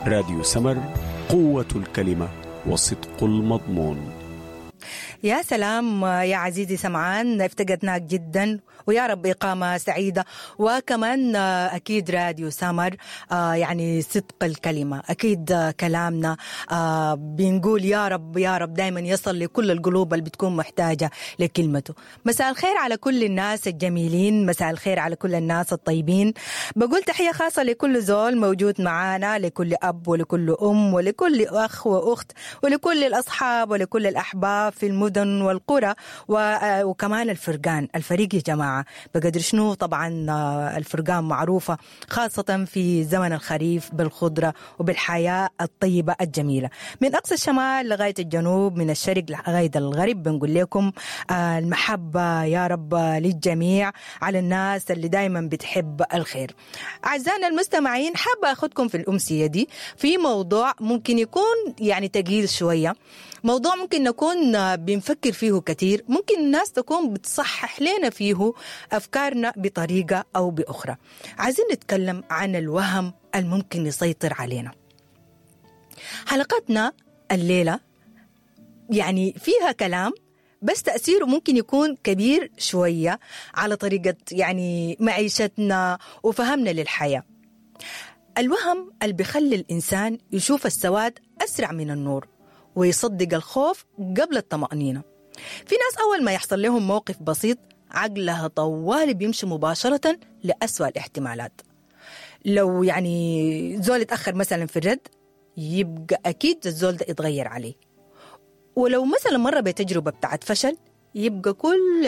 راديو سمر، قوة الكلمة وصدق المضمون. يا سلام يا عزيزي سمعان، افتقدناك جدا، ويا رب إقامة سعيدة. وكمان أكيد راديو سمر يعني صدق الكلمة، أكيد كلامنا بنقول يا رب يا رب دايما يصل لكل القلوب اللي بتكون محتاجة لكلمته. مساء الخير على كل الناس الجميلين، مساء الخير على كل الناس الطيبين. بقول تحية خاصة لكل زول موجود معانا، لكل أب ولكل أم ولكل أخ وأخت ولكل الأصحاب ولكل الأحباب في المدن والقرى، وكمان الفرقان، الفريق يا جماعة بقدر شنو. طبعا الفرقان معروفة خاصة في زمن الخريف بالخضرة وبالحياة الطيبة الجميلة، من أقصى الشمال لغاية الجنوب، من الشرق لغاية الغرب. بنقول لكم المحبة يا رب للجميع، على الناس اللي دايما بتحب الخير. أعزائنا المستمعين، حابة أخذكم في الأمسية دي في موضوع ممكن يكون يعني تقيل شوية، موضوع ممكن نكون بنفكر فيه كتير، ممكن الناس تكون بتصحح لنا فيه أفكارنا بطريقة أو بأخرى. عايزين نتكلم عن الوهم الممكن يسيطر علينا. حلقتنا الليلة يعني فيها كلام بس تأثيره ممكن يكون كبير شوية على طريقة يعني معيشتنا وفهمنا للحياة. الوهم اللي بيخلي الإنسان يشوف السواد أسرع من النور ويصدق الخوف قبل الطمأنينة. في ناس أول ما يحصل لهم موقف بسيط عقلها طوال بيمشي مباشرة لأسوأ الاحتمالات. لو يعني زول اتأخر مثلا في الرد يبقى أكيد الزول ده اتغير عليه، ولو مثلا مر بتجربة بتاعت فشل يبقى كل